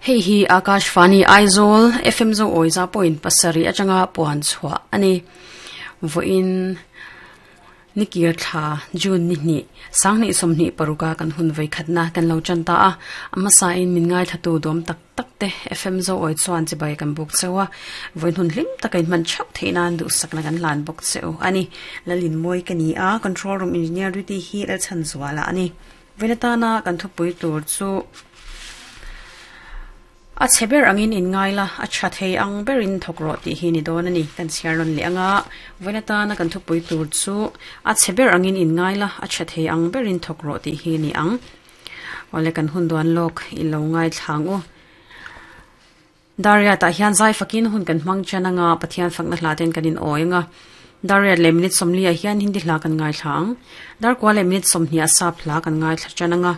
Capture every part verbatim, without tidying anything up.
Hei hi Akashvani Aizawl F M zo oiza point pasari atanga puan chhuah ani voin nikir thla June ni ni sangni somni paruka kan hun vai khatna kan lo chanta a amasa in min ngai thatu dom tak tak te F M zo oi chuan chi bai kan buk chewa voin hun hlim takin man chhap theinan du sakna kan lan bok cheu ani lalin moi kani a control room engineer duty hi la chan zwala ani venatana kan thupui tur chu a cheber angin in ngaila a tha thei ang berin thokro ti hi ni don ani kan chiaron le anga venatana kan thupui tur chu a cheber angin in ngaila a tha thei ang berin thokro ti hi ni ang ole kan hun duan lok i lo ngai thlangu daria ta hian zai fakin hun kan hmang chananga pathian fakna hlaten kanin oinga daria le minute somli a hian hindi hla kan ngai thlang dar kwa le minute somni a sap hla kan ngai thla chananga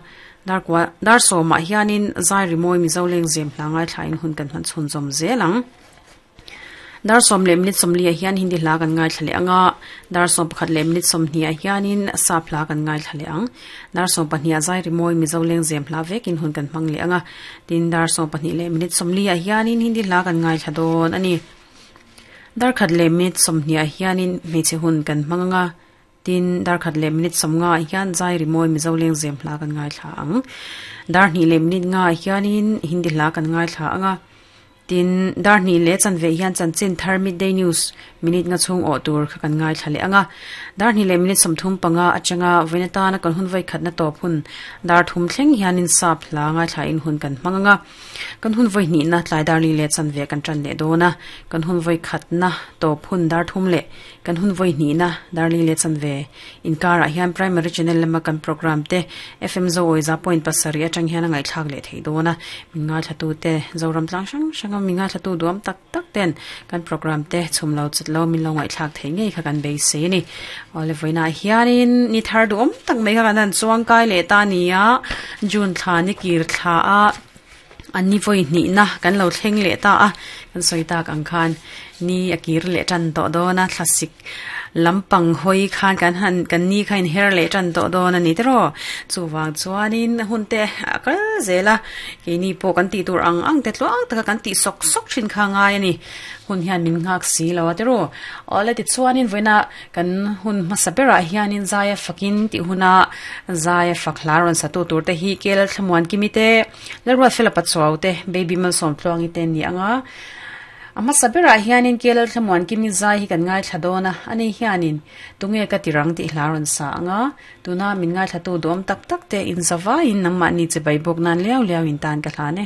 dar kwa dar so ma hianin zai rimoi mi zoleng zem hlangai thlain hun kan han chhun zom zelang dar som le minute somli a hian hindi hla kan ngai thlale anga dar som pakhat le minute somni a hianin sap hla kan ngai thlale ang dar som pahnih a zai rimoi mi zoleng zem hla vekin hun kan hmang le anga tin dar som pahnih le minute somli a hianin hindi hla kan ngai thladon ani dar khat le minute somni a hianin hmeichhe hun kan hmanganga tin dar khat le minute somnga hian zai rimoi mi zoleng zem hla kan ngai thla ang dar hnih le minute nga hianin hindi hla kan ngai thla anga tin dar hnih le chanve hian chanchin thar midday news minute nga chung o tur kha kan ngai thla le anga dar hnih le minute somthum panga atanga venatana kan hun vai khatna top hun dar thum thleng hianin sap hla ngai thla in hun kan hmanganga kan hun vai hnih na tlai dar li le chanve kan tran le dona kan hun vai khatna top hun dar thum le kan hun voi hnih na dar li le chanve inkar a hian primary channel lama kan program te F M zo oiza point pasari atang hian ngai thlak le thei dona minga thatu te zoram tlang sang sanga minga thatu duam tak tak ten kan program te chumlo chutlo min lo ngai thlak thei ngei kha kan be se ni ole voina hianin ni thar duam tak mai kha kan chuang kai le ta nia June thla ni kir thla a ani voi ni na kan lo thleng le ta a kan soita kang khan ni akir le tan to do na classic lampang hoi khan kan han kan ni khain her le tan to do na ni tro chuwang chuanin hunte akal zela ke ni po kan ti tur ang ang te tluang taka kan ti sok sok thin kha ngai ani hun hian min ngak si lo tro ole ti chuanin voina kan hun masabera hianin zaya fakin ti huna zaya faklaron satu tur te hi kel thlamuan kimite lerwa fela pachuaw te baby mal som tluangi te ni anga ama sabera hianin kelal thlamuan kimi zai hi kan ngai thladona ani hianin tunge ka tirang ti hlaron sa anga tuna min ngai thlatu dom tak tak te in zawa in namma ni che bai bok nan liao liao in tan ka hlane.